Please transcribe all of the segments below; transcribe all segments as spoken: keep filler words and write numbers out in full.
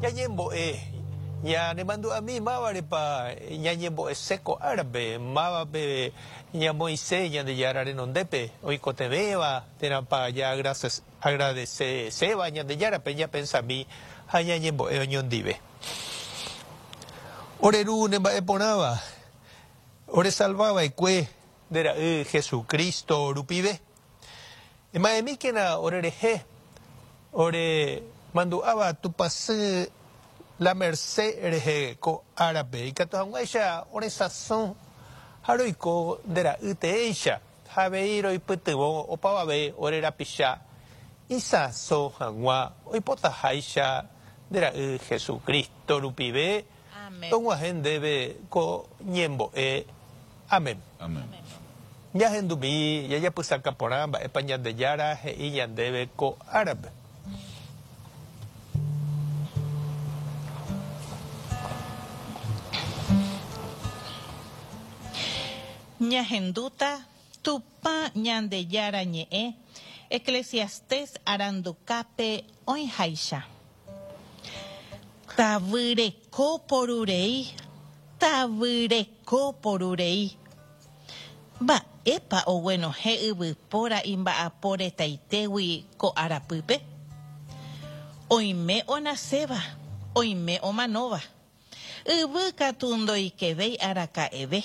Ñañembo'e ñanemandu'ami mávarepa ñañembo'ese ko árape mávape ñamoĩse Ñandejára renondépe oikotevẽva térãpa jaagradeseséva Ñandejárape ñapensami ha ñañembo'e oñondive. Ore Ru nemba'eporãva oresalvava'ekue nde ra'y Jesucristo rupive. Ema'ẽmíkena orerehe ore mandu'áva Tupãsy La Merced rehe ko árape ikatu hag̃uáicha oresãso ha roiko nde ra'y teéicha ha avei roipytyvõ opavave ore rapicha isãso hag̃ua oipotaháicha nde ra'y Jesucristo rupive Amén. Tog̃uahẽ ndéve ko ñembo'e. Amén. Amén. Ñahendumi jajapysaka porã mba'épa Ñandejára he'i ñandéve ko árape. Ñahendúta Tupã Ñandejára ñe'ẽ Eclesiastés arandukápe oĩháicha. Tavyreko porurei, tavyreko porurei. Mba'épa oguenohẽ yvypóra imba'apo retaitégui ko arapýpe? Oime onaséva, oime omanóva. Yvy katu ndoikevéi araka'eve.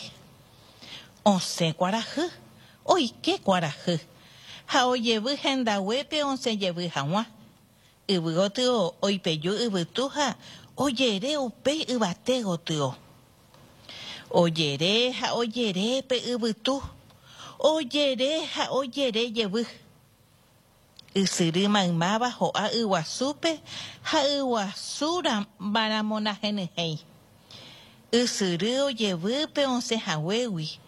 Osẽ kuarahy, oike kuarahy ha ojevy hendaguépe osẽjevy hag̃ua. Yvy gotyo oipeju yvytu ha ojere upéi yvate gotyo. Ojere ha ojere pe yvytu, ojere ha ojere jevy. Ysyry maymáva ho'a yguasúpe ha yguasu maramonahenyhẽi. Ysyry ojevy pe osẽhaguégui.